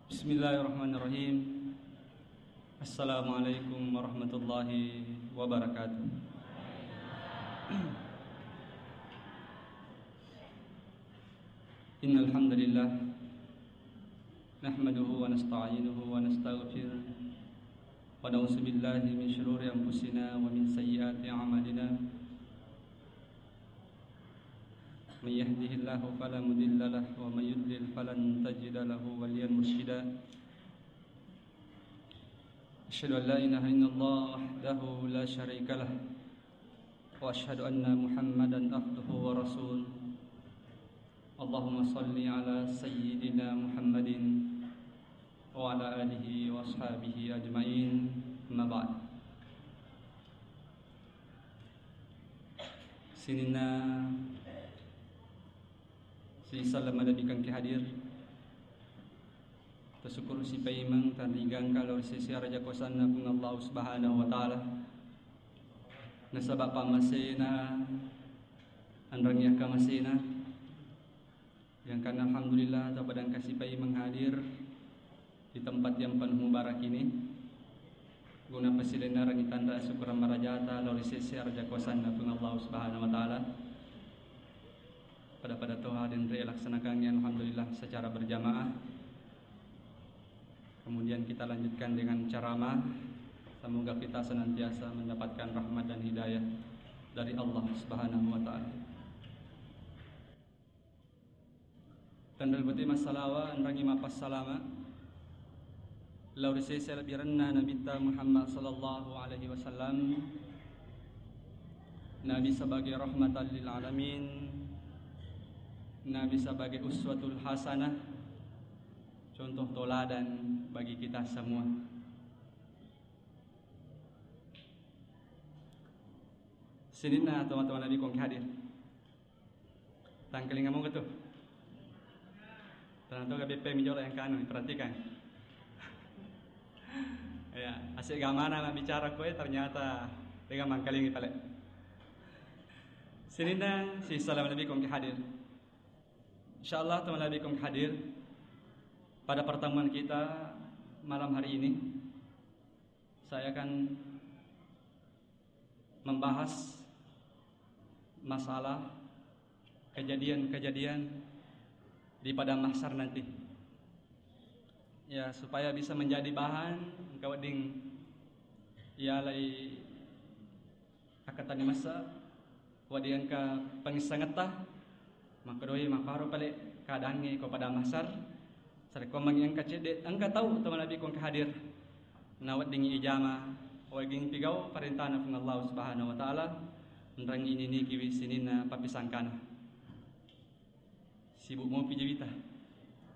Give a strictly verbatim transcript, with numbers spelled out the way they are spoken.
Bismillahirrahmanirrahim. Assalamualaikum warahmatullahi wabarakatuh. Innal hamdalillah, nahmaduhu wa nasta'inuhu wa nastaghfiruh, wa na'udzu billahi min syururi anfusina wa min sayyiati a'malina. Man yahdihillahu fala mudilla lah, wa man yudlil falan tajida lahu waliyan mursyida. Asyhadu an la ilaha illallah wahdahu la syarika lah, wa asyhadu anna Muhammadan abduhu wa rasul. Allahumma salli ala sayyidina Muhammadin wa ala alihi wa ashabihi ajmain. Amma ba'd. Sininna sisala malebbi engka hadir. Tasyukkuru sipaimeng tanrigangka lao ri sese araja kuasanna Puang Allah Subhanahu wa Ta'ala. Nasaba pammasena anrangi akkamasena. Gangkanna alhamdulillah, tapadangka sipaimeng hadir di tempat yang penuh mubarak ini. Guna pasilenna rangi tanda syukuran marajata lao ri sese araja kuasanna Puang Allah Subhanahu wa Ta'ala. Pada-pada toha denre laksanakangngi alhamdulillah secara berjamaah. Kemudian kita lanjutkan dengan ceramah. Semoga kita senantiasa mendapatkan rahmat dan hidayah dari Allah Subhanahu wa Ta'ala. Tenrel bete massalawa, enrangi mappassalama lao ri sese lebbirenna Nabitta Muhammad sallallahu alaihi wasallam. Nabi sebagai rahmatan lil alamin, Nabi sebagai uswatul hasanah, contoh toladan bagi kita semua. Sininna teman-teman Nabi kong hadir. Tangkalinga moga tu. Tanang toga beppe mi jolo yang kanu, perhatikan. Ya, asik gamana bicara koe ternyata dengan mangkalingi pale. Sininna si salam lebih kong hadir. Insyaallah teman lebih kong hadir pada pertemuan kita malam hari ini. Saya akan membahas masalah kejadian-kejadian di padang mahsyar nanti. Ya, supaya bisa menjadi bahan engka wedding yalai akkatenni masa, wedding engka pangissangetta, makkedoi mapparo pale keadaangnge ko padang mahsyar. Sarekko mangi engka cedde, engka tau teman lebih kong hadir. Naweddingngi ijama, wedding pigau parentana Puang Allah Subhanahu wa Ta'ala, enrangi ninikiwi sininna pappisangkana. Sibuk mopi jawita.